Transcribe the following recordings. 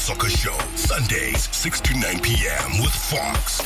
Soccer Show, Sundays, 6 to 9 p.m. with Fox.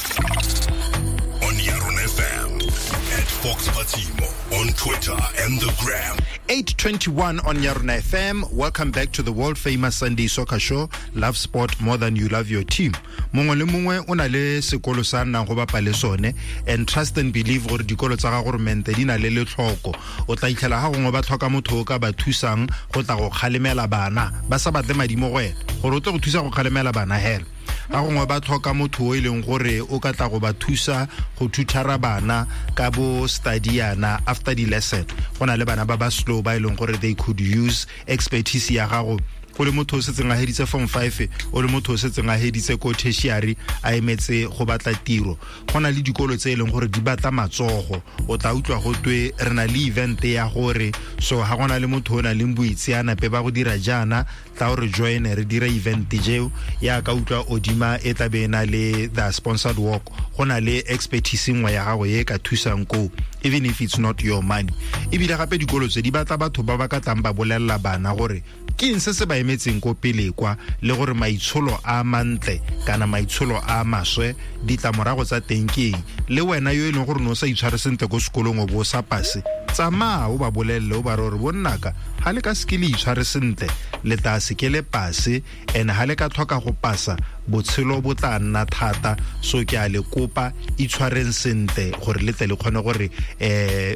On Yaron FM. At Fox Patimo on Twitter and the Gram. 8:21 on Yarona FM. Welcome back to the world famous Sunday Soccer Show. Love sport more than you love your team. Mongwe le mongwe o na le sekolo sa nnang go bapa le sone and trust and believe gore dikolo tsa ga goromente di na le letlhoko. O tla itlhela ga gongwe ba tlhoka motho o ka ba thusang go tla go kgalemela bana ba sa batle madi mo go wena gore o tle go thusa go kgalemela bana hela. Ga gongwe ba tlhoka motho o e leng gore o ka tla go ba thusa go thuthara bana ka bo studyana after the lesson. Go na le bana ba ba slow ba e leng gore they could use expertise ya gago o le motho o setseng a heditse form 5, o le motho o setseng a heditse ko tertiary a emetse go batla tiro. Go na le dikolo tse e leng gore di batla matsogo. O tla utlwa go twe re na le event ya gore so ga gona le motho o na leng boitseanape ba go dira jaana, tla o re join re dira event jeo. Ya ka utlwa Odima e tla be e na le the sponsored work, go na le expertise nngwe ya gago e ka thusang ko, even if it's not your money. Ebile gape dikolo tse di batla batho ba ba ka tlang ba bolelela bana gore ke eng se se ba emetseng ko pele kwa, le gore maitsholo a mantle kana maitsholo a maswe ditlamorago tsa teng ke eng. Le wena yo e leng gore no sa itshware sentle ko sekolong o bo o sa pase, tsamaya o ba bolelele o ba re gore bonnaka ga le ka seke le itshware sentle le tla seke le pase, and ga le ka tlhoka go pasa botshelo bo tla nna thata. So ke a le kopa, itshwareng sentle gore le tle le kgone gore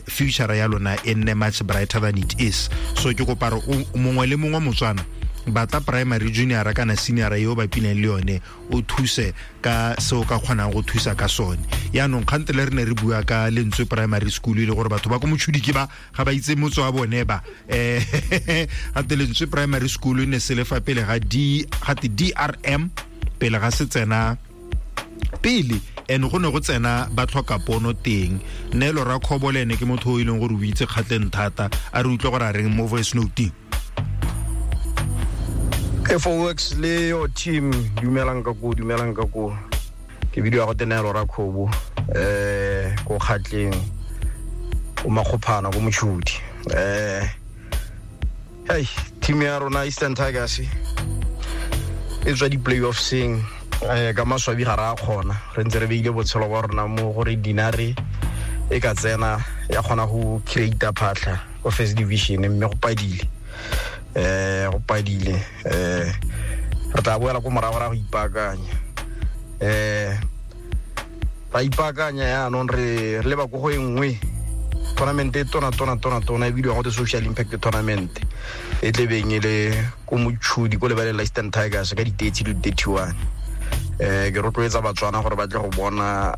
future ya lona e nne much brighter than it is. So ke kopa re mongwe le mongwe Motswana, batla primary, junior kana senior yo ba pineng le yone, o thuse ka se o ka kgonang go thusa ka sone. Yaanong kgante le re ne re bua ka Lentswe Primary School, e le gore batho ba ko Motšhudi ke ba ga ba itse motse wa bone ba. Gate Lentswe Primary School e ne se le fa pele ga D, gate DRM pele ga se tsena pele, and go ne go tsena ba tlhoka pono teng. Neelo Rakgobo le ene ke motho o e leng gore o itse Kgatleng thata, a re utlwe gore a reng mo voice note. FOX le your team, dumelang ka ko, dumelang ka ko. Ke bidiwa go Neelo Rakgobo, ko Kgatleng, ko Makgophana, ko Motšhudi. Hey, team ya rona Eastern Tigers e tswa di-playoffseng, ka maswabi ga re a kgona. Re ntse re beile botshelo ba rona mo gore dinare e ka tsena ya kgona go create phatlha ko first division, mme go padile. Go padile. Re tla boela ko morago ra go ipaakanya. Ra ipaakanya yaanong re leba ko go e nngwe tournament e tona tona tona tona e bidiwa go te Social Impact Tournament, e tlebeng e le ko Motšhudi ko lebaleng la Eastern Tigers ka di-30 le di-31. Ke rotloetsa Batswana gore ba tle go bona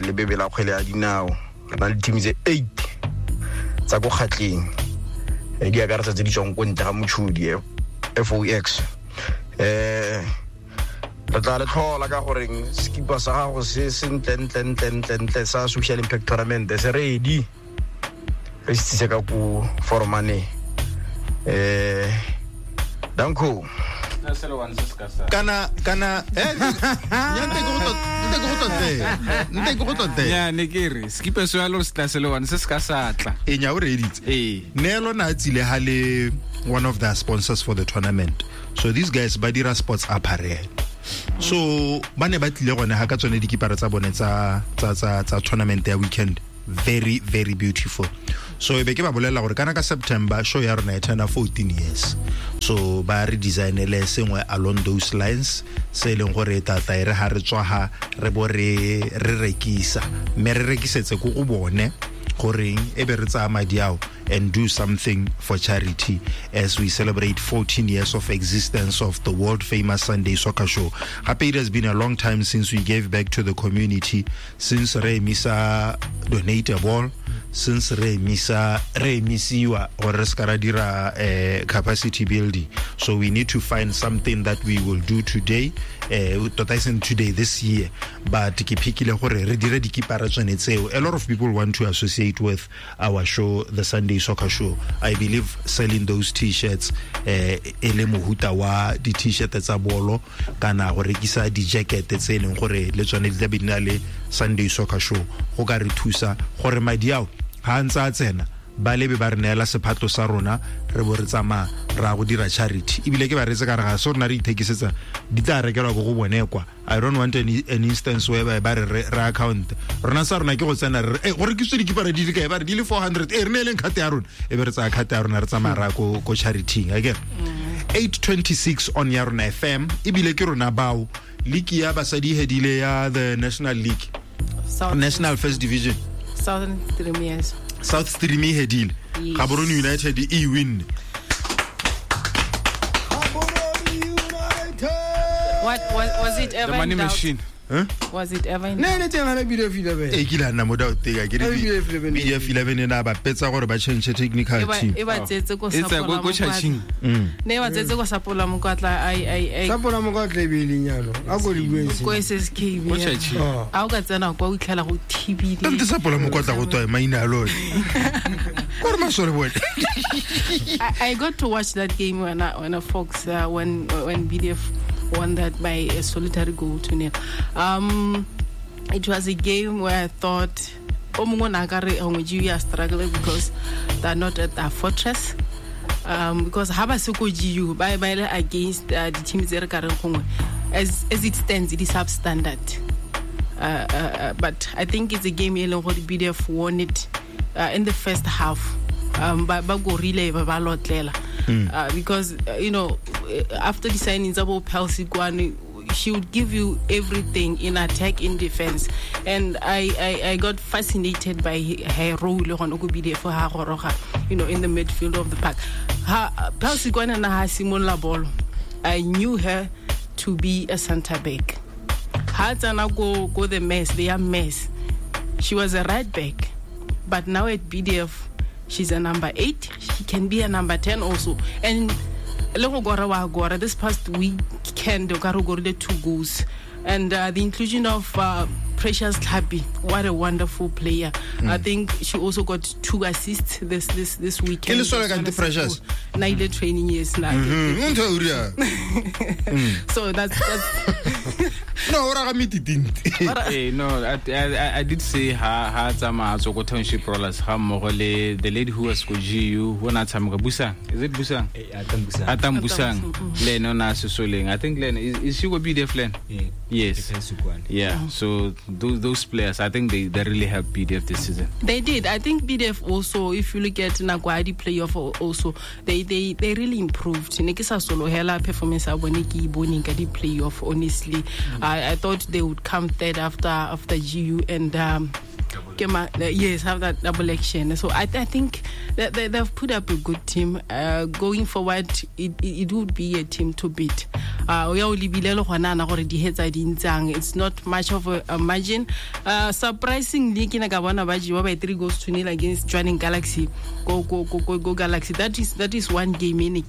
lebebe la kgwele ya dinao. Re na le team tse 8 tsa ko Kgatleng, di akaretsa tse di tswang ko ntle ga Motšhudi, FOX. Re tla le tlhola ka goreng sekipa sa gago se se ntle ntle ntle ntle ntle sa Social Impact Tournament se ready, re se tsise ka ko foromane. Danko. Kana nya nte go tote. Ya ne ke re skipa se ya lo se tla se le one se se ka sa tla. E nya o reditse. Ee. Neelo na tsile ha le one of the sponsors for the tournament. So these guys ba dira sports apparel. So ba ne ba tlile gone ha ka tsone dikipara tsa bone tsa tsa tsa tsa tournament ya weekend. Very very beautiful. So e be ke ba bolela gore kana ka September show ya rona e turna 14 years. So ba re designele sengwe along those lines se e leng gore tata e re ha re tswa ha re bo re rekisa, mme re rekisetse ko go bone goreng e be re tsaya madi ao and do something for charity as we celebrate 14 years of existence of the world famous Sunday Soccer Show. Gape it has been a long time since we gave back to the community, since re emisa donate a ball, since re emisa re emisiwa gore re ska ra dira capacity building. So we need to find something that we will do today, tota e seng today, this year, but ke phikile gore re dire dikipara tsone tseo. A lot of people want to associate with our show, the Sunday Soccer Show. I believe selling those t-shirts, e le mohuta wa di-t-shirt tsa bolo kana go rekisa di-jacket tse e leng gore le tsone di tla be di na le Sunday Soccer Show, go ka re thusa gore madi ao ga a ntse a tsena Ba lebe ba re neela sephatlo sa rona re bo re tsamaya ra go dira charity ebile ke ba reetse ka re ga se rona re ithekisetsa di tla rekelwa ko go bone kwa. I don't want an instance where ba re re account rona sa rona ke go tsena re go rekisitswe dikipara di le kae, ba re di le 400, re neeleng card ya rona, e be re tsaya card ya rona re tsamaya ra ko charity-ing akere. 8:26 on ya rona FM, ebile ke rona bao league ya basadi hedile ya the National League, National First Division, Southern Stream, yes. South Stream e hedile. Yes. Gaborone United e win. Gaborone United. What was it ever The money in doubt? machine. Huh? Was it ever in Ne le teng gana BDF 11. E kile a nna mo doubt ka ke re BDF 11. BDF 11 ena ba petsa gore ba change technical team. E ba tsetse ko E tsa Sapola ko chaching. Ne ba tsetse ko Sapola Mokwatla ai Sapola Mokwatla e be e leng yalo. A ko di bueng ko sentle. SSK. Ko chaching. Oh. A o ka tsena kwa o itlhela go thibile. Tante Sapola Mokwatla go tswa maina a lone. Ko re masole bone. I got to watch that game when I Fox when BDF won that by a solitary goal to nil. It was a game where I thought, "Oh, we are struggling because they're not at our fortress." Because haba se ko GU by against the teams that are as it stands, it is substandard. But I think it's a game BDF won it in the first half. Ba go relay ba lotlela. Because you know, after the signings about Pelsi Kwane, she would give you everything in attack, in defense, and I got fascinated by her role on for her, you know, in the midfield of the park. Pelsi Kwane na ha simolla bolo, I knew her to be a center back. Ha tsana go the mess, they are mess. She was a right back, but now at BDF, she's a number 8. She can be a number 10 also. And this past weekend, Okaro 2 goals. And the inclusion of Precious Tlhapi, what a wonderful player. I think she also got 2 assists this weekend. Precious. Naile training years now. So that's No, hey, no, I did say ha tsamaya tswa ko Township Rollers ga mmogo le the lady who was ko GU who na tshameka Busang. Is it Busang? Atam Busang. Le ene o na sesoleng. I think Len is she go BDF Len? Yeah. Yes. Yeah. So those players, I think they really helped BDF this season. They did. I think BDF also, if you look at Nagwadi playoff also, they really improved. Ne ke sa solo hela performance ya bone ke e boneng ka di playoff, honestly. I thought they would come third after GU and yes, have that double action. So I think that they've put up a good team. Going forward, it would be a team to beat. It's not much of a margin. Surprisingly, by 3-0 against Jwaneng Galaxy. Go Galaxy. That is one game in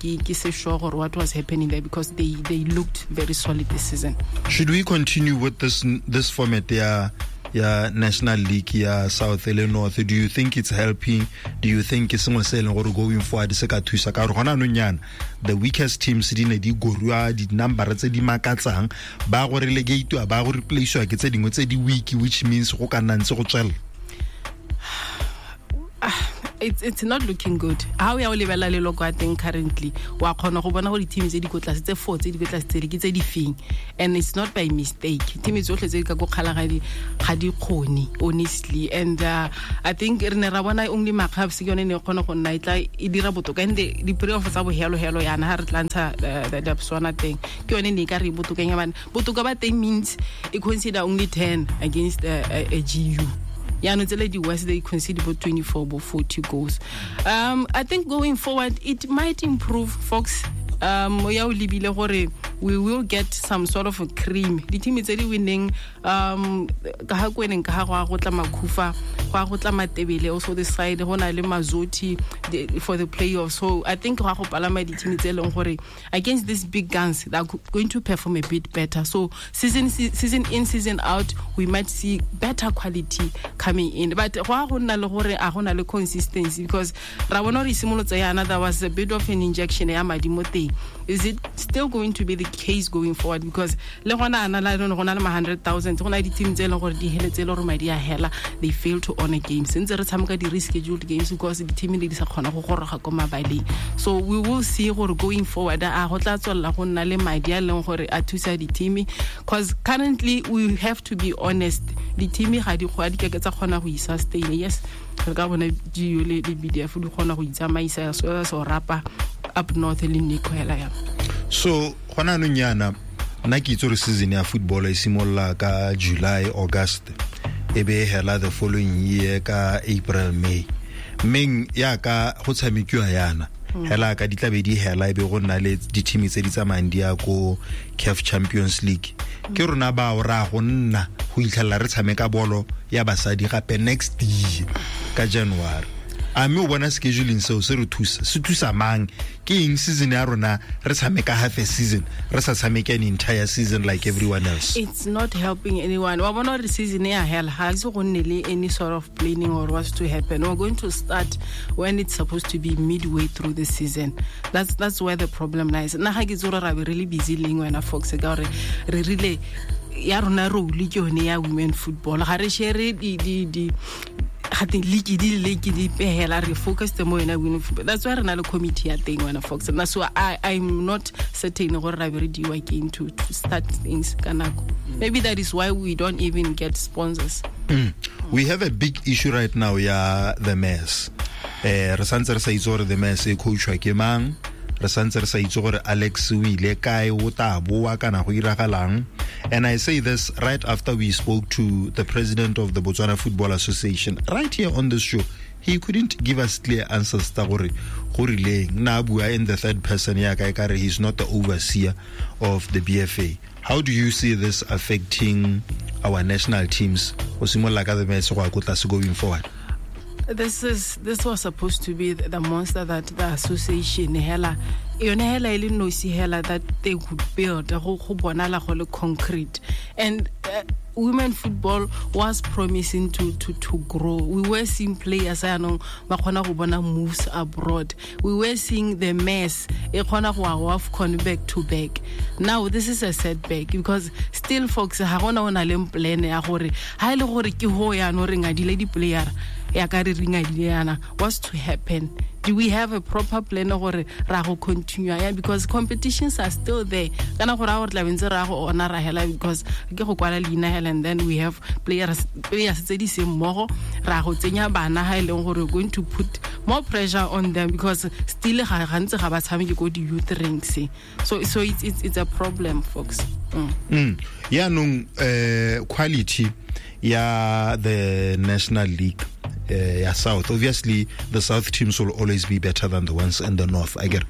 sure what was happening there, because they looked very solid this season. Should we continue with this format? Yeah. Yeah, National League, yeah, South le North. Do you think it's helping? Do you think it's sengwe se leng gore going forward se ka thusa ka gore gona anong yana the weakest teams di ne di gorua di number tse di makatsang ba go relegate ba go replace ke tse dingwe tse di weak, which means go ka nna ntse go tswela. It's not looking good. How we are lebela le loko I think currently wa khona go bona go di teams tse di ko tlase tse 4 tse di ko tlase tse di ke tse di feng, and it's not by mistake. Team tsotlhe tse di ka go kgalagadi ga di khone honestly, and I think re ne ra bona only Makgabs ke yone ne khona go nna e tla e dira botoka, and the playoff tsa bo helo yana ha re tla ntsha the Botswana teng ke yone ne ka re botoka nya bana botoka ba teng means e consider only 10 against a GU. Yeah, no, the West, they concede about 24, about 40 goals. I think going forward, it might improve, folks. We will get some sort of a cream. The team is already winning. Also the side Mazoti for the playoffs. So I think the team is against these big guns, they're going to perform a bit better. So season in, season out, we might see better quality coming in. But consistency, because there was a bit of an injection. Is it still going to be the case going forward, because le gona ana la go na le ma 100,000, go na le di-team tse e leng gore di heletse e le gore madi a hela, they fail to honor games. Ntse re tshameka di-rescheduled games because di-team di sa kgona go goroga ko mabaleng. So we will see gore going forward a go tla tswelela go nna le madi a leng gore a thusa di-team, because currently we have to be honest, di-team ga di keke tsa kgona go i-sustain. Yes, re ka bona GU le BDF di kgona go itsamaisa so rapa up north le Nico hela ya. So gona anong yana nna ke itse gore season ya football e simolola ka July, August, e be hela the following year ka April, May. Mmeng yaka go tshamekiwa yana hela ka ditlabe di hela e be go nna le di-team tse di tsamayang di ya ko CAF Champions League. Ke rona bao ra go nna go itlhela re tshameka bolo ya basadi gape next year ka January. A mme o bona scheduling seo se re thusa, se thusa mang? Ke eng season ya rona re tshameka half a season, re sa tshameke an entire season like everyone else? It's not helping anyone. Wa bona gore season ya hela ga se go nne le any sort of planning or what's to happen. We're going to start when it's supposed to be midway through the season. That's where the problem lies. Nna ga ke itse gore ra be re le busy leng wena Fox, ka gore re rile ya rona role ke yone ya women football. Ga re share di gate league di league di pehela, re focus mo yona women football. That's why re na le committee ya teng wena Fox. Na so I'm not certain gore ra be re diwa keng to start things ka nako. Maybe that is why we don't even get sponsors. We have a big issue right now ya the mess. Re santse re sa itse gore the mess e coachwa ke mang, re santse re sa itse gore Alex o ile kae, o tla boa kana go iragalang. And I say this right after we spoke to the president of the Botswana Football Association right here on this show. He couldn't give us clear answers tsa gore go rileng. Na bua in the third person ya ka ekare he's not the overseer of the BFA. How do you see this affecting our national teams? O simolola ka the mess go ya ko tlase going forward. This was supposed to be the monster that the association hela yone hela e le nosi hela that they could build go bonala go le concrete. And women football was promising to grow. We were seeing players yanong ba kgona go bona moves abroad. We were seeing the mess e kgona go AFCON back to back. Now this is a setback because still folks ga gona o na le plan ya gore ha ile gore ke ho ya no re ngadile di player ya ka re ringadile yana, what's to happen? Do we have a proper plan gore ra go continue ya, because competitions are still there. Kana gore a gore tla bentse ra go ona ra hela because ke go kwala leina hela, and then we have players tse di seng mmogo ra go tsenya bana ha e leng gore we're going to put more pressure on them because still ga gantse ga ba tshameke ko di youth ranks. So it's a problem, folks. Yaanong quality ya the National League ya South. Obviously, the South teams will always be better than the ones in the North. I get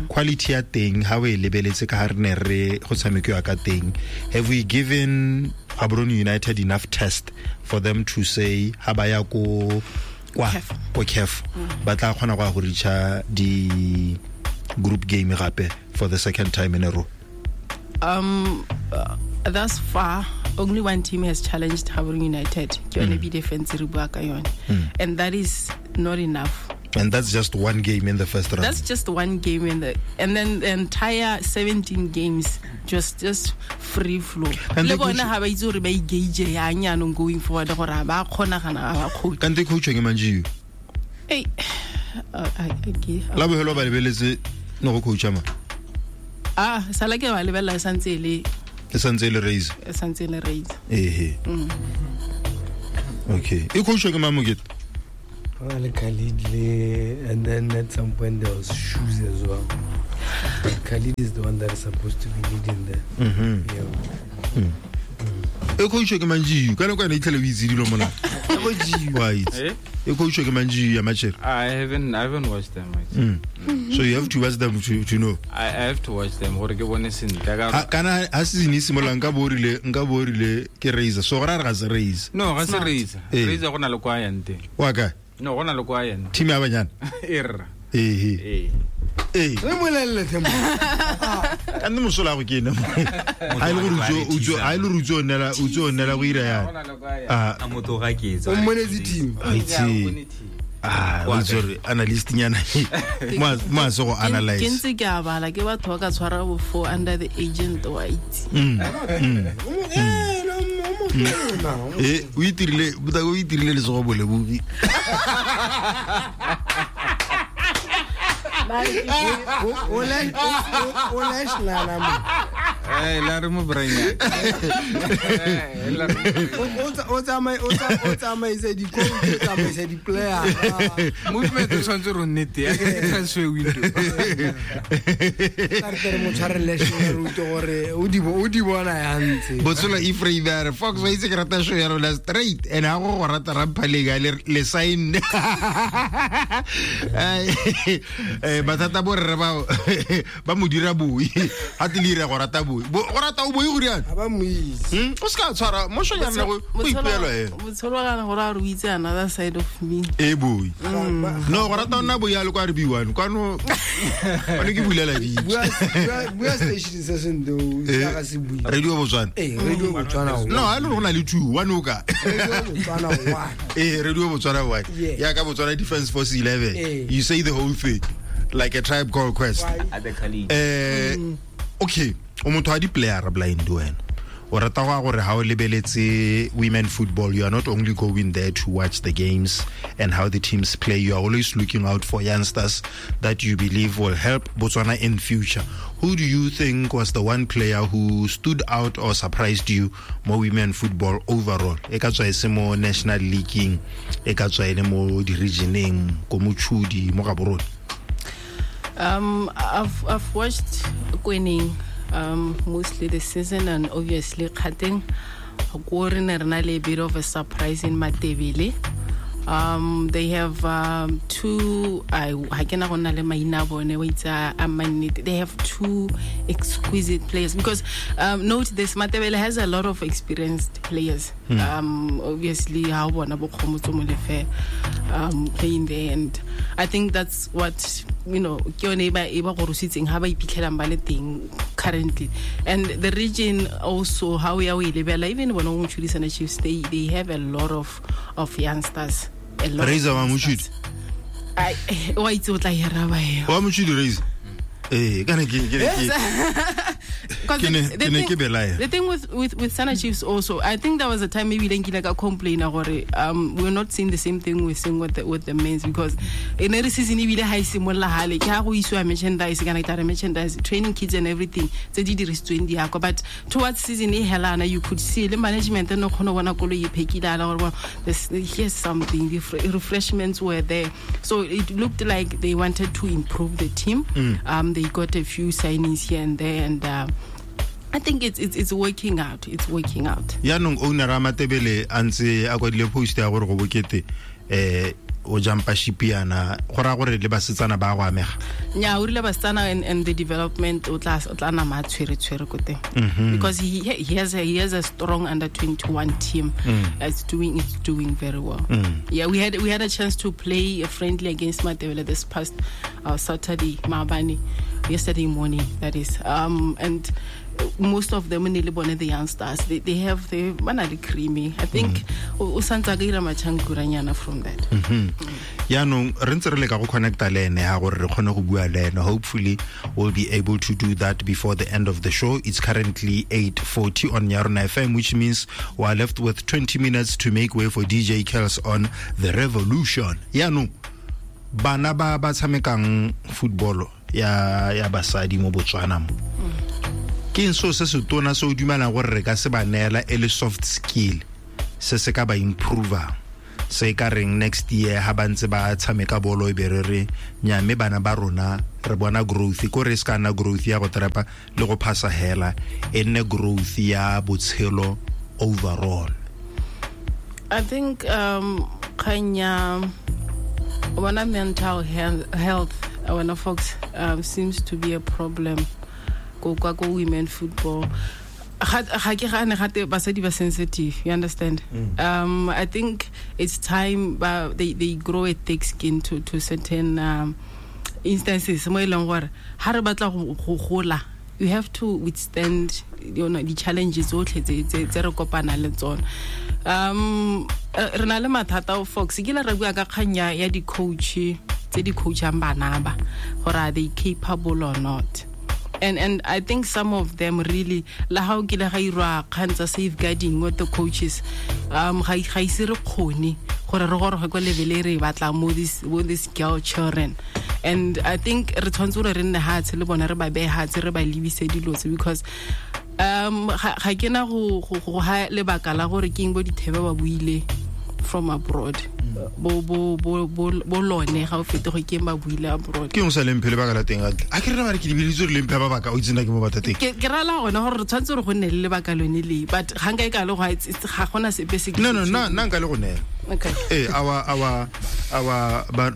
quality ya teng, ha we lebeletse ka ha re ne re go tshamekiwa ka teng. Have we given Gaborone United enough test for them to say ha ba ya ko kwa ko CAF ba tla kgona go reacha di group game gape for the second time in a row? Thus far, only one team has challenged Gaborone United. Ke yone be defense re bua ka yone. And that is not enough. And that's just one game in the first round. That's just one game in the, and then the entire 17 games just free flow. Le bona ha ba itse gore ba engage yang yanong going forward gore ba kgona gana ba kgone. Kante coach ke mang Hey, La bohelo ba lebeletse no go coach ma. Ah, sala ke ba lebella santse le. E santse le raise. E santse le raise. Ehe. Okay. E coach ke mang mokete? Khalid le, and then at some point there was Shoes as well. But Khalid is the one that is supposed to be leading there. Yeah. E coach ke mang GU? Ka nako ene itlhele o itse dilo mona. Wa itse. E coach ke mang GU ya match? I haven't watched them. So you have to watch them to know. I have to watch them gore ke bone sentle. Kana ha season e simolola nka bo rile ke Razor. So gore ga se Razor. No, ga se Razor. Razor go na le kwa yang teng. Wa kae? No, go na le kwa yang. Team ya banyana. Erra. Ehe. Ee. Re molelle Themba. Ka nne mosola go ke ene. Ha ile gore utso nela go ira ya. A motho ga ke etsa. O mmonetse team. Itse. Ah, sorry, analyst nyana. Mo se go analyze. Ke ntse ke a bala ke batho ba ka tshwara bo 4 under the agent wa itse. O itirile, o itirile letsogo bolebogi. O la mo. La re mo brain. O tsamaisa di coach, o tsamaisa di player. Movement o tshwanetse re nnete ya transfer window. Ka re mo tshwarele shero gore o di bona ya ntse. Botsola Ephraim a re Fox wa itse ke rata show ya rona straight and ha go rata ramphalega le sign. Batata bo re ba mo dira boi. Ha te le go rata boi. Go rata o boi go riana. Ba mo itse. O ska tshwara mo show ya nna go ipuelo e. Botsholo ga gore a re itse another side of me. E boi. No go rata nna boi a le kwa re biwano. Kwano one ke bulela di. Bua station se sendo ga se bui. Radio Botswana. Radio Botswana. No, a le rona le two one o ka. Radio Botswana 1. Radio Botswana 1. Ya ka Botswana Defense Force 11. You say the whole thing like a Tribe Called Quest. Okay, o motho wa di player blind wena. O rata go gore ha o lebeletse women football, you are not only going there to watch the games and how the teams play, you are always looking out for youngsters that you believe will help Botswana in future. Who do you think was the one player who stood out or surprised you mo women football overall? E ka tswa e se mo national league, e ka tswa e le mo di-regioneng, ko Mochudi, mo Gaborone. I've watched Kweneng mostly the season, and obviously Kgateng. Go re ne re na le a bit of a surprise in Matebele. They have two, I cannot go na le maina a bone, wa itse a mannete. They have two exquisite players because note this, Matebele has a lot of experienced players. Obviously ha bona bo Kgomotso Molefe playing there, and I think that's what, you know, ke yone e ba gorositseng ha ba iphitlhelang ba le teng currently. And the region also, how we are lebela, even bona go Mochudi Chiefs, they have a lot of youngsters. Raiser wa Mochudi. I wa itse o tla e araba eo. Wa Mochudi Raiser. Kana ke The thing with Sana Chiefs also, I think there was a time maybe nkile ka complain gore we're not seeing the same thing we're seeing with the men's, because in every season ebile ha e simolla hale ke ha go isiwa merchandise kana ke merchandise training kits and everything tse di dirisitsweng di akwa, but towards season e helana you could see le management no kgona bona koloi e phekile ala gore here's something, the refreshments were there, so it looked like they wanted to improve the team. They got a few signings here and there, and I think it's working out. It's working out. Yaanong owner a Matebele a ntse a kwadile post ya gore go bokete o jumpa shipiana go ra gore le basetsana ba go amega. Nya o rile basetsana and the development o tla nama tshwere ko teng, because he has a strong under 21 team. It's doing very well. Yeah, we had a chance to play a friendly against Matebele this past Saturday, maabane, yesterday morning, that is. And most of them ne le bone the youngsters, they have the bana le creamy. I think o santsa ka ira machankuranyana from that. Yaanong re ntse re leka go connecta le ene ha gore re kgone go bua le ene. Hopefully we'll be able to do that before the end of the show. It's currently 8:40 on Yarona FM, which means we are left with 20 minutes to make way for DJ Kels on The Revolution. Yaanong bana ba ba tshamekang football ya basadi mo Botswana mo, ke eng so se se tona se o dumelang gore re ka se ba neela e le soft skill se se ka ba improver, se ka reng next year ha ba ntse ba tshameka bolo e be re re nya mme bana ba rona re bona growth, ko re se ka nna growth ya go trepa le go phasa hela, e nne growth ya botshelo overall? I think kganya bona mental health wena folks seems to be a problem go kwa go women football. Ga ke gane gate basadi ba sensitive, you understand? I think it's time they grow a thick skin to certain instances mo e leng gore ha re batla go gola, you have to withstand, you know, the challenges tsotlhe tse re kopana le tsone. Re na le mathata o Fox ke la re bua ka kgang ya di-coach tse di coachang bana ba gore are they capable or not. And I think some of them really la ha o kile ga irwa kgang tsa safeguarding with the coaches, ga ise re kgone gore re goroge ko level e re e batlang mo this girl children. And I think re tshwanetse gore re nne hatshe le bona, re ba beye hatshe, re ba lebise dilo tse, because ga ke na go ha lebaka la gore ke eng bo dithebe ba buile from abroad. Bo bo bo bo bo lone ga o fete go ke ba buile abroad. Ke eng sa lemphe lebaka la teng atle? A ke re ba re ke dibilitse re lemphe ba baka o itse nna ke mo batla teng. Ke rala gone gore re tshwanetse gore go nne le lebaka lone le, but ga nka e ka le go ga gona sepe se ke No, no, nna nka le go neela. Okay. Our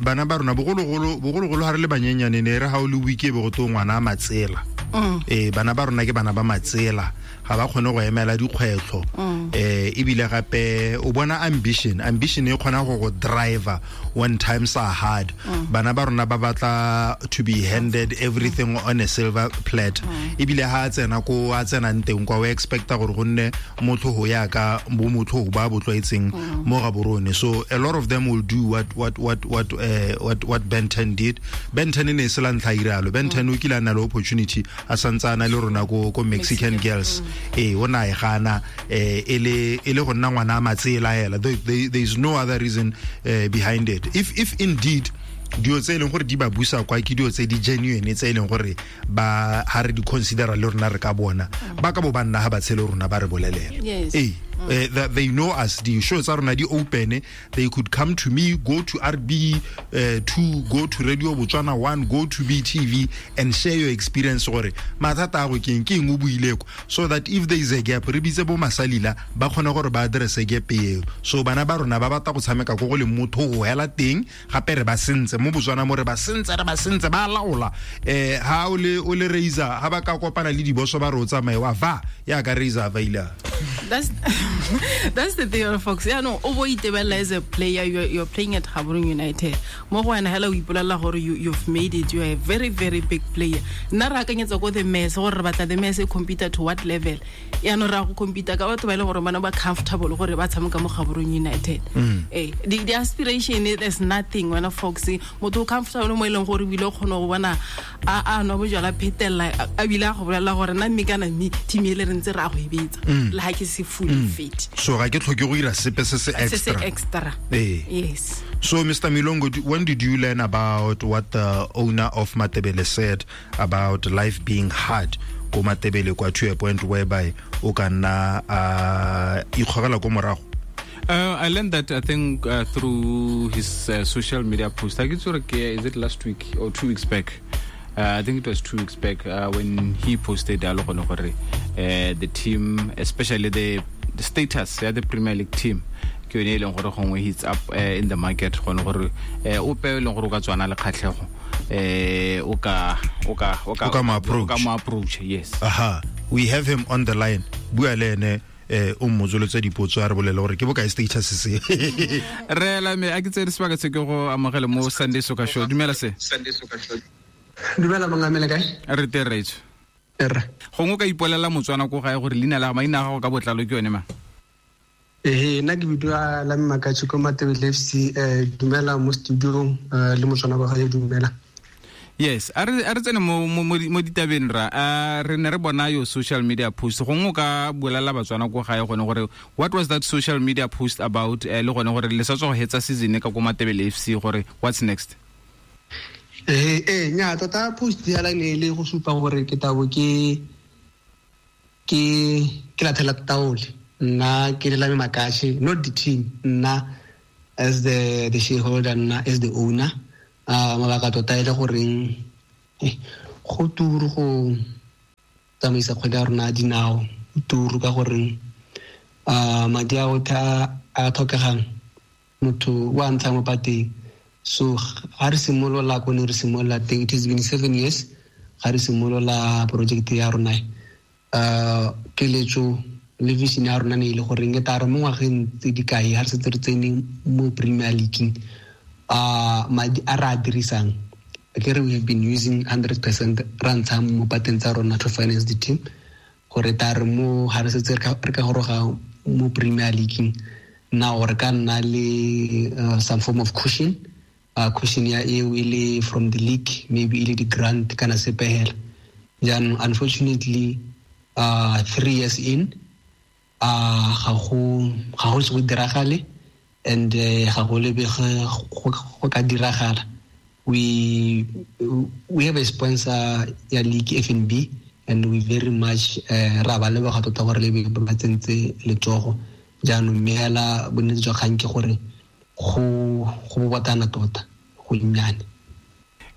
bana ba rona bogologolo ha re le banyenyane ne re ha o le week e be go to ngwana a matsela. Bana ba rona ke bana ba matsela, ga ba kgone go emela dikgwetlho. Ebile gape o bona ambition e kgona go go driver when times are hard. Bana ba rona ba batla to be handed everything on a silver platter. Ebile ha tsena ko a tsenang teng kwa o expecta gore go nne motho ho ya ka bo motho ba bo tlwaetseng mo Gaborone. So a lot of them will do what Ben 10 did. Ben 10 ne se la ntlha iralo. Ben 10 o kile a nna le opportunity a santsana le rona ko Mexican Girls. O na e gana e le go nna ngwana a matsela hela. There is no other reason behind it. If indeed dilo tse e leng gore di ba busa kwa ke dilo tse di genuine tse e leng gore ba ha re di considera le rona re ka bona ba ka bo ba nna ha ba tshele rona ba re bolelela. Yes. They know us. The shows are already open. They could come to me, go to RB2, go to Radio Botswana 1, go to BTV and share your experience. Gore mathata a go keng ke eng o buile ko, so that if there is a gap, re bitse bo masalila ba kgone gore ba address gap eo. So bana ba rona ba batla go tshameka ko go le motho go hela teng, gape re ba sentse mo Botswana mo re ba sentse ba laola. Ha o le raiser ha ba ka kopana le diboso ba re o tsamaye wa va ya ka raiser va ila. That's the thing, folks. Yeah, no, o bo itebella as a player, you're playing at Gaborone United. Mo go wena hela o ipolela gore you've made it. You're a very, very big player. Nna re akanyetsa ko the mess gore re batla the mess e compete to what level. Ya no ra go compete ka batho ba ile gore bana ba comfortable gore ba tshameka mo Gaborone United. The aspiration, there's nothing wena folks. Motho o comfortable mo e leng gore o ile kgona go bona a no bojala phetella a bile a go bolela gore nna mme kana mme team e le re ntse ra go e betsa. Le ha ke se fully fit. So ga ke tlhoke go ira sepe se se extra. Yes. So Mr. Milongo, when did you learn about what the owner of Matebele said about life being hard ko Matebele kwa to a point whereby o ka nna ikgogela ko morago? I learned that, I think, through his social media post. I think is it last week or 2 weeks back? I think it was 2 weeks back when he posted the team, especially the status, the Premier League team. Ke yone e leng gore gongwe he's up in the market gone gore ope e leng gore o ka tswana le kgatlhego o ka mo approach. Yes. Aha, we have him on the line. Bua le ene o mmotsolotse dipotso a re bolele gore ke bokae status se. Re la me a ke tsere sebaka se ke go amogele mo Sunday Soccer Show. Dumela se. Sunday Soccer Show. Dumela mongamele kae? Re teng raitso. Gongwe o ka ipolela Motswana ko gae gore leina la maina a gago ka botlalo ke yone ma? Nna ke bidiwa la Mmakatši ko Matebele FC. Dumela mo studiong le Motswana kwa gae, dumela. Yes, a re tsene mo ditabeng ra. Re ne re bona yo social media post. Gongwe o ka bolela Batswana ko gae gone gore what was that social media post about, le gone gore le sa tswa go hetsa season ka ko Matebele FC gore what's next? Nya tota post ya la ne le go supa gore ke tabo ke lathela taole. Nna ke le la Mmakatši, not the team, nna as the shareholder, nna as the owner. Mabaka tota e le goreng go turu go tsamaisa kgwedi ya rona dinao, turu ka goreng madi a otlhe a tlhokegang motho o a ntsha mo pateng. So ga re simolola ko ne re simolola teng, it has been 7 years ga re simolola project ya rona. Keletso le vision ya rona ne e le goreng e tla re mo ngwageng tse di kae ga re setse re tsene mo Premier League, madi a re a dirisang, ke re we have been using 100% ra ntsha mo pateng tsa rona to finance the team, gore ta re mo ga re setse re ka goroga mo Premier League Now re ka nna le some form of cushion, cushion ya eo e le from the league, maybe e le di-grant kana sepe hela. Jaanong unfortunately 3 years in ga go se go diragale, and ga go lebege go ka diragala. We have a sponsor ya league, FNB, and we very much ra ba leboga tota gore le ba tsentse letsogo. Jaanong mme hela bonnete jwa kgang ke gore go bobotana tota, go nnyane.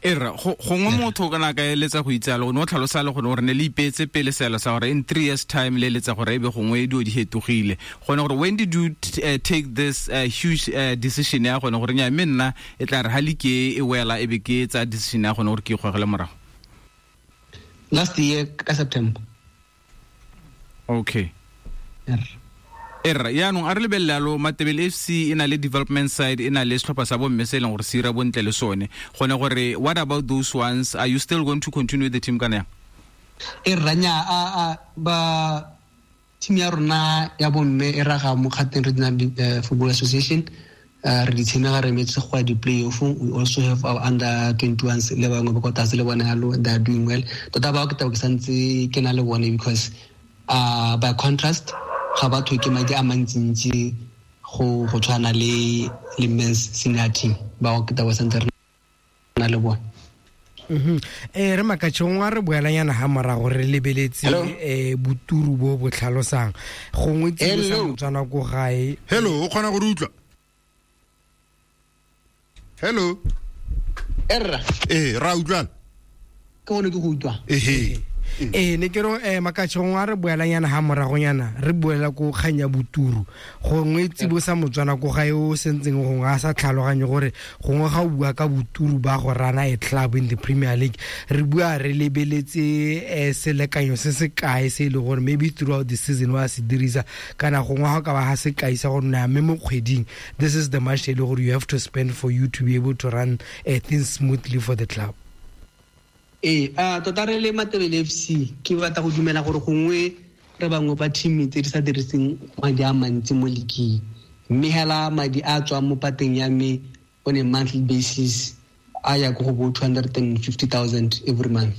Era gongwe motho kana ka eletsa go itsalo, o ne o tlhalosa le gore ne le ipeetse pele selo sa gore in 3 years time le eletsa gore ebe gongwe dio di hetogile. Gone gore when did you take this huge decision ya gone gore nya mme nna e tla re ha le ke e wela e be ke tsa decision ya gone gore ke ikgogele morago? Last year ka September. Okay. Erra yaanong a re lebelele alo Matebele FC e na le development side, e na le setlhopha sa bomme se e leng gore se ira bontle le sone. Gone gore what about those ones, are you still going to continue the team kana yang? Erra nya a ba team ya rona ya bomme e raga mo Gauteng Regional Football Association, re di tshemega re metse go ya di-playoff. We also have our under 21s le bangwe ba kwa tlase le bone yalo, they are doing well. Tota bao ke tabo ke santse ke na le bone because by contrast ga batho ke madi a mantsintsi go tshwana le men's senior team ba go kita ba santse re na le bone. Re Makatšhe gongwe a re boelanyana ha morago re lebeletse boturu bo bo tlhalosang gongwe tsibosa Motswana ko gae. Hello, o kgona go re utlwa? Hello. Erra. Ra utlwana. Ke gone ke go utlwa. Ehe. Ne ke re Makatšhe gongwe a re boelanyana ha moragonyana re boela ko kgang ya boturu gongwe tsibosa Motswana ko gae o sentseng gongwe a sa tlhaloganye gore gongwe ga o bua ka boturu ba go rana a club in the Premier League re bua re lebeletse selekanyo se se kae se e le gore maybe throughout the season wa se dirisa kana gongwe ga ka ba ga se kaisa gore na mme mo kgweding this is the much e le gore you have to spend for you to be able to run things smoothly for the club. Tota re le Matebele FC ke batla go dumela gore gongwe re bangwe ba team tse di sa diriseng madi a mantsi mo league, mme hela madi a tswang mo pateng ya me on a monthly basis a ya go bo 250,000 every month.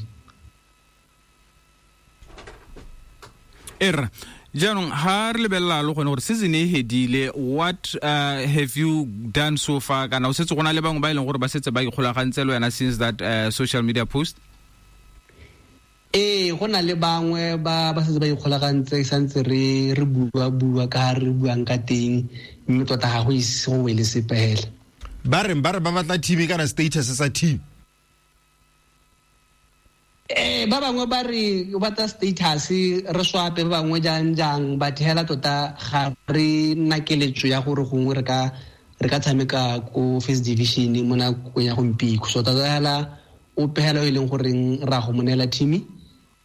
Erra jaanong ha re lebelela lo gone gore season e hedile, what have you done so far kana o setse go na le bangwe ba e leng gore ba setse ba ikgolagantse le wena since that social media post? Go na le bangwe ba setse ba ikgolagantse santse re bua ka re buang ka teng, mme tota ga go ise go wele sepe hela. Ba re ba batla team kana status sa team. Ba bangwe ba re batla status re swape, ba bangwe jang but hela tota ga re nna keletso ya gore gongwe re ka tshameka ko first division mo nakong ya gompieno. So tota hela ope hela e leng goreng ra go monela team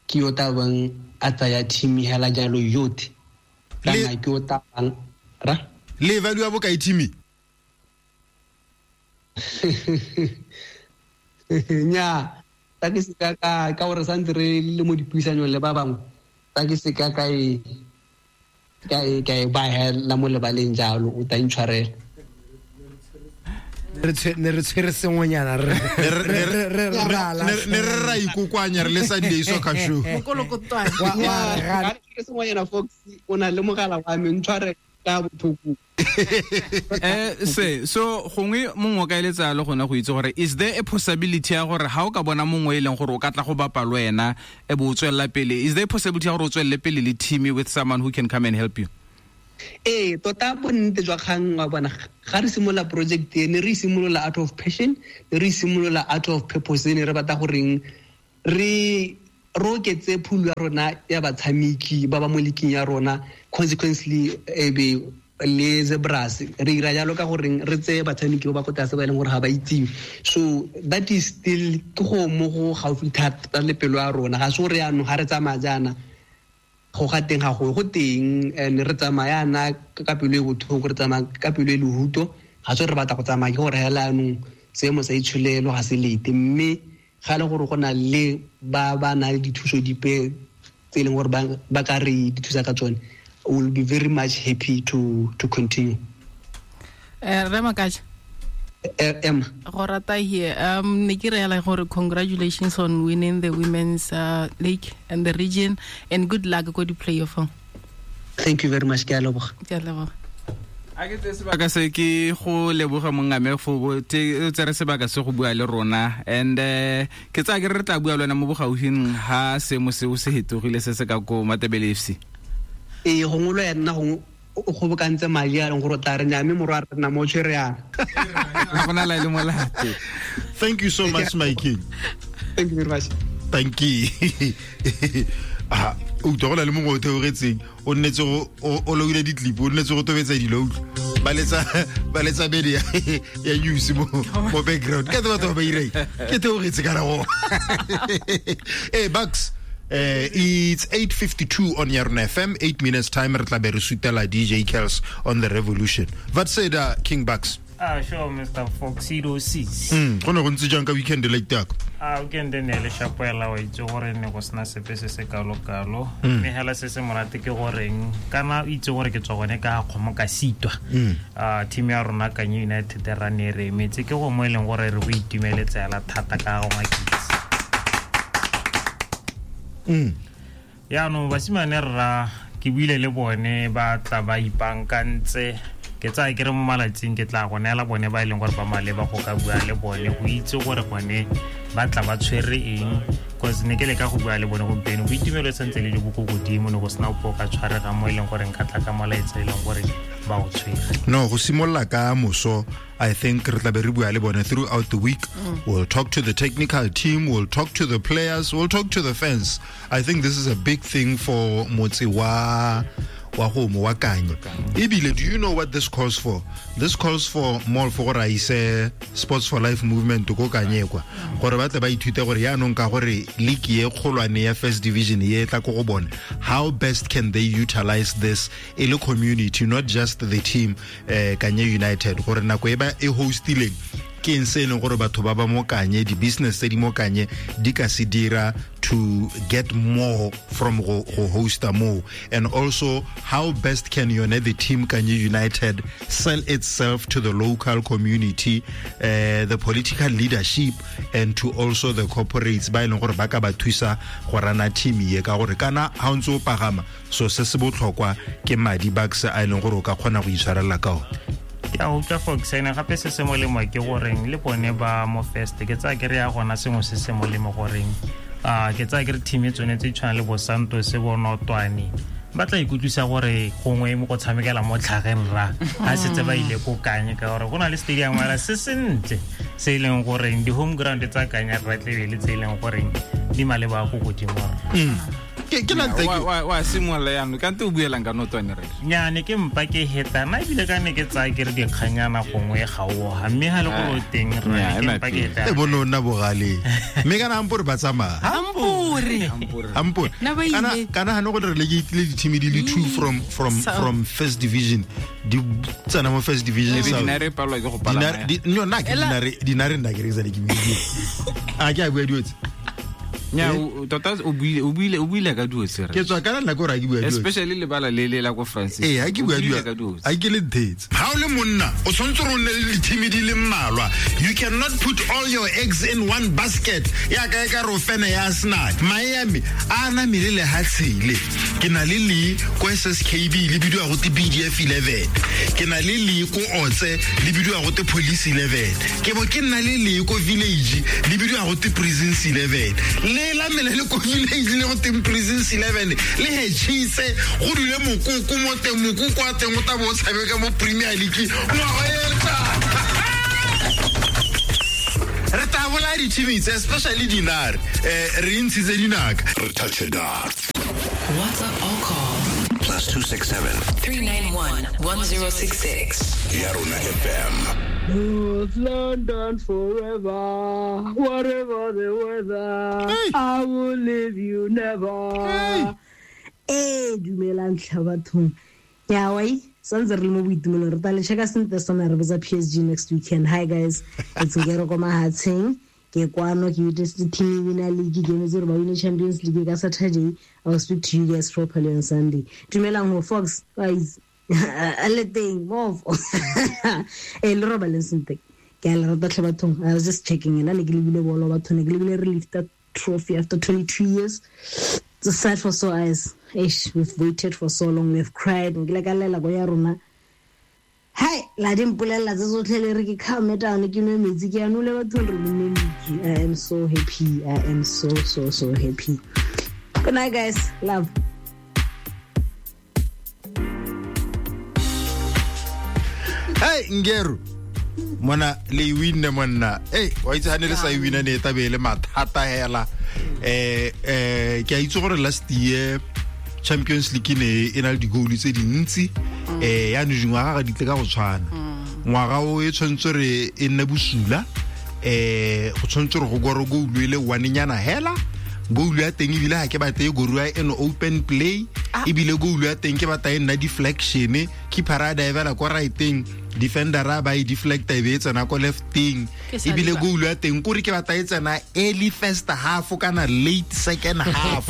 ke yo tabang a tsaya team hela jalo yotlhe kana ke o tabang ra le value ya bokae team? Nya ta ke se ka gore santse re le mo dipuisanyong le ba bangwe, ta ke se ka e ba hela mo lebaleng jalo, o ta intshwarela. Re tshwere sengwenyana re ne re ra ikokwanya re le Sunday Soccer Show. Mokolokotwane. Wa re sengwenyana Fox o na le mogala wa me ntshware ka botlhoko. Se so gongwe mongwe o ka eletsa le gone go itse gore is there a possibility ya gore ha o ka bona mongwe e leng gore o ka tla go bapa le wena e bo o tswelela pele, is there a possibility ya gore o tswelele pele le team with someone who can come and help you? Tota bonnete jwa kgang wa bona ga re simolola project e ne re simolola out of passion, ne re simolola out of purpose, ne re batla goreng re oketse pool ya rona ya batshameki ba ba mo leaking ya rona, consequently e be le Zebras re ira jalo ka goreng re tseye batshameki ba ba ko tlase ba e leng gore ga ba itsiwe. So that is still ke go mo go gaufi thata le pelo ya rona, ga se gore yaanong ga re tsamaya jaana go ga teng ga go teng, and re tsamaya yana ka pelo e botlhoko, re tsamaya ka pelo e lehuto, ga se re batla go tsamaya ke gore hela yaanong seemo sa itsholelo ga se lete, mme ga le gore go na le ba ba na le dithuso dipe tse e leng gore ba ka re di thusa ka tsone, will be very much happy to continue. Re Makacha. Emma. Go rata here. Ne ke re gore congratulations on winning the women's league and the region, and good luck go di playoff. Thank you very much, ke a leboga. Ke a leboga. A ke tse sebaka se ke go leboga mongame fo tsere sebaka se go bua le rona, and ke tsaya ke re tla bua le wena mo bogaufing ha seemo seo se hetogile se se ka ko Matebele FC. Ee, gongwe lo ya nna gongwe o kgobokantse madi a leng gore o tla re nyame morwa re nna mo tshwere yana. Ga gona la e le molato. Thank you so much, my king. Thank you very much. Thank you. Ah, o utlwa go na le mongwe o theogetseng, o nnetse go o loile di-clip, o nnetse go tobetsa dilo, utlwa ba letsa bede ya news mo background. Ke batho ba ba ireng ke theogetse kana go. Hey Bucks, it's 8:52 on Yarona FM, 8 minutes time re tla be re sutela DJ Kels on the revolution. What said King Bucks? Sure, Mr. Fox 06. Go ne go ntse jang ka weekend like that? Weekend ne le shapoela wa itse gore ne go sena sepe se se kalo-kalo. Mme hela se se monate ke goreng kana o itse gore ke tswa gone ka kgomo ka sitwa. Team ya rona Kanye United ra ne re emetse ke go mo e leng gore re go itumeletse hela thata ka go makitse. Yaanong basimane rra ke buile le bone ba tla ba ipankantse. Ke tsaya ke re mo malatsing ke tla go neela bone ba e leng gore ba maleba go ka bua le bone go itse gore gone ba tla ba tshwere eng, cause ne ke leka go bua le bone gompieno boitumelo e santse le jo bo ko godimo, ne go sena ope o ka tshwarega mo e leng gore nka tla ka molaetsa e leng gore ba o tshwere. No, go simolola ka moso, I think re tla be re bua le bone throughout the week. We'll talk to the technical team, we'll talk to the players, we'll talk to the fans. I think this is a big thing for motse wa go wa Kanye. Ebile, do you know what this calls for? This calls for more for gore a ise Sports for Life movement ko Kanye kwa. Gore ba tle ba ithute gore yaanong ka gore league e kgolwane ya first division e tla ko go bone. How best can they utilize this e le community, not just the team Kanye United, gore nako e ba e hostileng ke eng se e leng gore batho ba ba mo Kanye, di-business tse di mo Kanye di ka se dira to get more from go hosta mo, and also how best can yone the team Kanye United sell itself to the local community, the political leadership, and to also the corporates ba e leng gore ba ka ba thusa go rana team ye, ka gore kana ha o ntse o pagama so se se botlhokwa ke madi bucks a e leng gore o ka kgona go itshwarela ka one. Ke a utlwa Fox, ene gape se se molemo ke goreng le bone ba mo first ke tsaya ke re ya gona sengwe se se molemo goreng ke tsaya ke re team e tsone tse tshwana le bo Santos bo Notwane ba tla ikutlwisa gore gongwe mo go tshamekela mo tlhageng ra ha setse ba ile ko Kanye, ka gore go na le stadium wala se sentle se e leng goreng di home ground tsa Kanye ra tle le tse e leng goreng di maleba go godimo. Ke na thank you. Wa simolola jaanong kante o buelang ka Notwane re? Nyane ke mpa ke heta nna ebile ka ne ke tsaya ke re dikganyana gongwe ga oga, mme ha le gore o teng rra ke mpa ke heta. E bone o nna bogale. Mme kana ampore ba tsamaya. Ampore. Ampore. Kana ha ne go re relegate le di-team di le two from first division. Di tsena mo first division. Dinare palwa ke go palama. No, nna ke dinare nna ke re ke buile. A ke a bua dilo tse. Nya tota o buile ka duo tse re. Ke tswa kana nna gore a ke bua duo. Especially lebala le le la ko Francis. Ee, ha ke bua duo. A ke le nthetse. Ha o le monna, o tshwanetse gore o nne le di-team di le mmalwa. You cannot put all your eggs in one basket. Ya ka e ka re o fene ya Arsenal. Miami a na mele le hatshele. Ke na le le ko SSKB le bidiwa go te BDF 11. Ke na le le ko Otse le bidiwa go te Police 11. Ke bo ke nna le le ko Village le bidiwa go te Prisons 11. Le la mele le ko Village le go te Prisons 11 le hetshitse go dule mokoko mo teng, mokoko wa teng o tla bo o tshameka mo Premier League. Ngwaga e tlang. Re tla bolaya di-team tse, especially dinare. Re ntshitse dinaka. Re touch it up. WhatsApp or call +267 391 1066. Yarona FM. North London forever, whatever the weather, hey. I will leave you never. Hey, dumelang tlha bathong. Ya wai, santse re le mo boitumelong, re tla le checka sentle sona re botsa PSG next weekend. Hi guys, it's Ngero ko Mahatsheng. Ke kwano ke itse team winner league game tse re ba win Champions League ka Saturday. I will speak to you guys properly on Sunday. Dumelang ho Fox, guys. A le teng mofo. E le robaleng sentle. Ke a le rata tlhe bathong. I was just checking in. Ne ke lebile bolo batho, ne ke lebile re lifta trophy after 22 years. It's a sight for sore eyes. Eish, we've waited for so long, we've cried. Nkile ka lela ko ya rona. Hai, la di mpolelela tse tsotlhe le re ke calm down, ke nwe metsi, ke a nole bathong, re nne league. I am so happy. I am so, so, so happy. Good night, guys. Love. Hey, Ngeru. Mona le e winne monna. Hey, wa itse ha ne le sa e winna ne e tabe e le mathata hela. Ke a itse gore last year Champions League ne e na le di-goal tse dintsi. Yaanong dingwaga ga di tle ka go tshwana. Ngwaga o e tshwanetse re e nne bosula. Go tshwanetse re go gore goal e le one-nyana hela. Goal ya teng ebile ha ke batle e goruwa in open play. Ebile goal ya teng ke batla e nna deflection. Keeper a divela kwa right-eng, defender a ba e deflecta e be e tsena kwa left-eng. Ke sa Ebile leba. goal ya teng kore ke batla e tsena early first half kana late second half.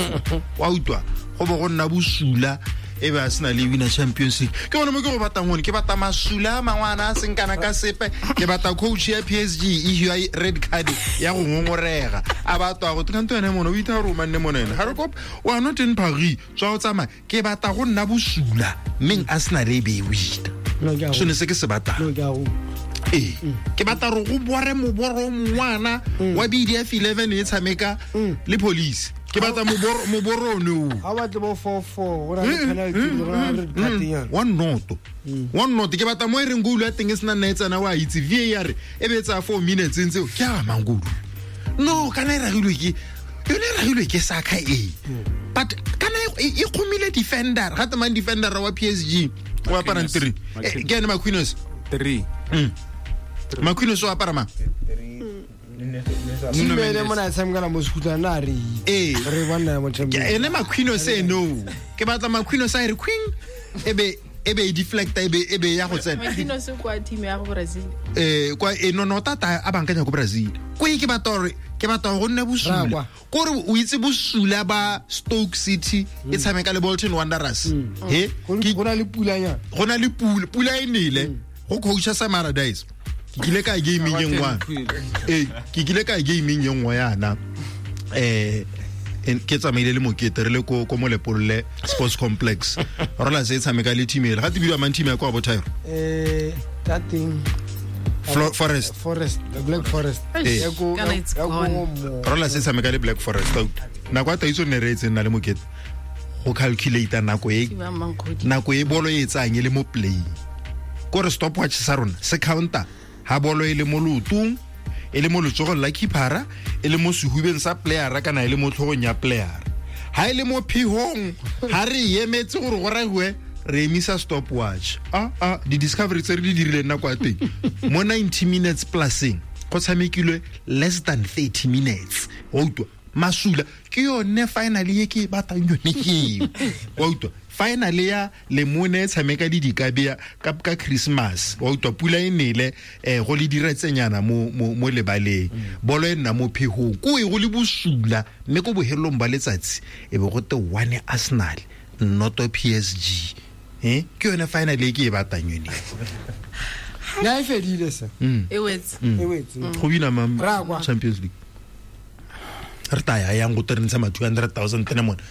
Wa utlwa? Go bo go nna bosula e be a sena le winner Champions League. Ke gone mo ke go batlang gone, ke batla masula a mangwe a na a seng kana ka sepe. Ke batla coach ya PSG e hiwa red card ya go ngongorega. A batla go tla ntho ene mona, o itha gore o manne mona ene. Ha re kopa, o a not in Paris, tswa o tsamaya. Ke batla go nna bosula, mmeng Arsenal e be e wina. No, ke a go. Sone se ke se batlang. No, ke a go. Ee, ke batla gore go bore moboro o mongwana wa BDF 11 e tshameka le police. Ke batla moboro one oo. Ha o batle bo 4-4, go na le penalty, go na le red card nyana. One noto. One noto. Ke batla mo e reng goal ya teng e sena nna e tsena, wa itse VAR e be e tsaya 4 minutes e ntse, ke a mang goal? No, kana e ragilwe ke, yone e ragilwe ke Saka e. But kana e kgomile defender, ga temang defender wa PSG o aparang Marquinhos. 3. Marquinhos. Ke ene Marquinhos. 3. Marquinhos o apara mang? Team ene mona e tshamekela mo Sekhutlana, na re itse. Ee. Re bona ya mo Champions. Ke ene Marquinhos eno. Ke batla Marquinhos a e re queen, e be e deflecta, e be ya go tsena. Marquinhos o kwa team ya go Brazil. Kwa, no, no, tata a bankanya ko Brazil. Ko e ke batla gore, ke batla go nne bosula. Ra kwa. Kore o itse bosula ba Stoke City e tshameka le Bolton Wanderers. He? Go na le pulanyana. Go na le pula, pula e nele. Go coacha Sam Allardyce. Ke kile ka gaming e nngwe. Ee, ke kile ka gaming e nngwe yana. Ke tsamaile le Mokete re le ko Molepolole Sports Complex. Rola se tshameka le team ele. Ga te bidiwa mang team ya kwa bo Thairo? Ta teng. Forest. Forest, the Black Forest. Ee. Ya ko, Kana it's ya ko gone. mo. Rola se tshameka le Black Forest. Nako ya Taiso ne re etse nna le Mokete. Go calculate nako e, Ke ba mang kgodi? nako e bolo e tsang e le mo playing. Kore stopwatch sa rona se counter ha bolo e le mo leotong, e le mo letsogong la keepera, e le mo sehubeng sa playera kana e le mo tlhogong ya playera. Ha e le mo phihong, ha re emetse gore go ragiwe, re emisa stopwatch. Di-discovery tse re di dirileng nako ya teng, mo 90 minutes pluseng, go tshamekilwe less than 30 minutes. Wa utlwa? Masula ke yone finally e ke e batlang yone ke eo. Wa utlwa? Finally ya Lemone e tshameka le dikabea ka Christmas. Wa utlwa pula e nele, go le diretsenyana mo lebaleng. Bolo e nna mo phehong. Ko e go le bosula, mme ko bohelong ba letsatsi e be go te 1 Arsenal, noto PSG. Ke yone finally e ke e batlang yone. Ya e fedile se. E wetse. E wetse. Go bina mang Ra kwa. Champions League? Re tla ya yang go te re ntsha ma 200,000 tene mona.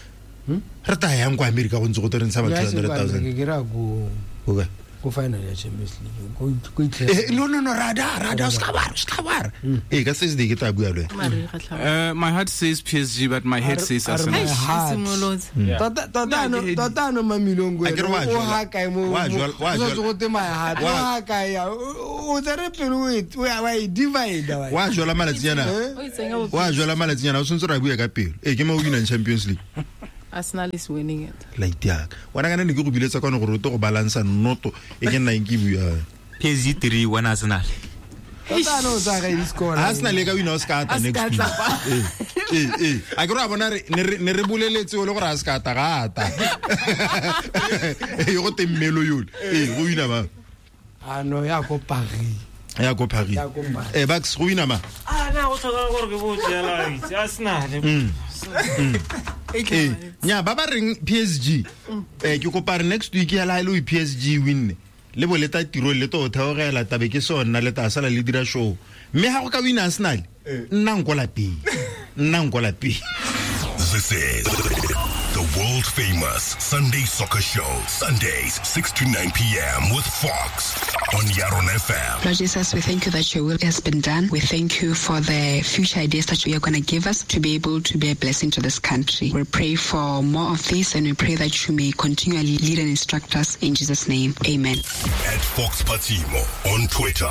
Re tla yang kwa America go ntse go te re ntsha ma Ya se kwa 200,000. America, ke ra ko Go kae? ko final ya Champions League. Ko itlhela. No, no, no, rada, rada, o ska ba, o ska ba. Ka Thursday ke tla bua le wena. Mare ga tlhaba. My heart says PSG, but my head says Are Arsenal. my Eish, heart. simolotse. Yeah. Tota, No, ke tota ano Mamilongo A ke re ene, wa o jwala. ha kae mo- Wa mo- jwala, wa o sa jwala. tswe go te my heart, o Wa- ha kae ya? O tsere pelo o e- o ya- wa e divide, wa e. Wa jwala malatsinyana. O itsenya bo- Wa jwala malatsinyana, o tshwanetse re a bua ka pelo. Ke mo o winang Champions League. Arsenal is winning it. Light ya ka. Wena kana ne ke go biletsa kwano gore o tle go balansa noto e ke nnang ke bua. PSG 3 1 Arsenal. Tota ano o tsaya kae di-score? Arsenal e ka wina o se ka ata A se next ka week. tlapa. A ke re wa bona ne re boleletse o le gore a se ka ata, ga ata. Go teng mmelo yole. Go wina mang? Ah, no, ya ko Paris. Ya ko Paris. Ya ko Paris. Bucks, go wina mang? Ah, na go tlhoka gore ke botse yala itse Arsenal. Ee, nya ba ba reng PSG, ke kopa re next week ya la ile o PSG winne le bo leta tiro le to theogela tabe ke sona le ta sala le dira show, mme ha go ka win Arsenal, nna nko lapeng, nna nko lapeng. This is the world famous Sunday Soccer Show. Sundays, 6 to 9 p.m. with Fox on Yaron FM. Lord Jesus, we thank you that your will has been done. We thank you for the future ideas that you are going to give us to be able to be a blessing to this country. We pray for more of this, and we pray that you may continually lead and instruct us in Jesus' name. Amen. At Fox Patimo on Twitter.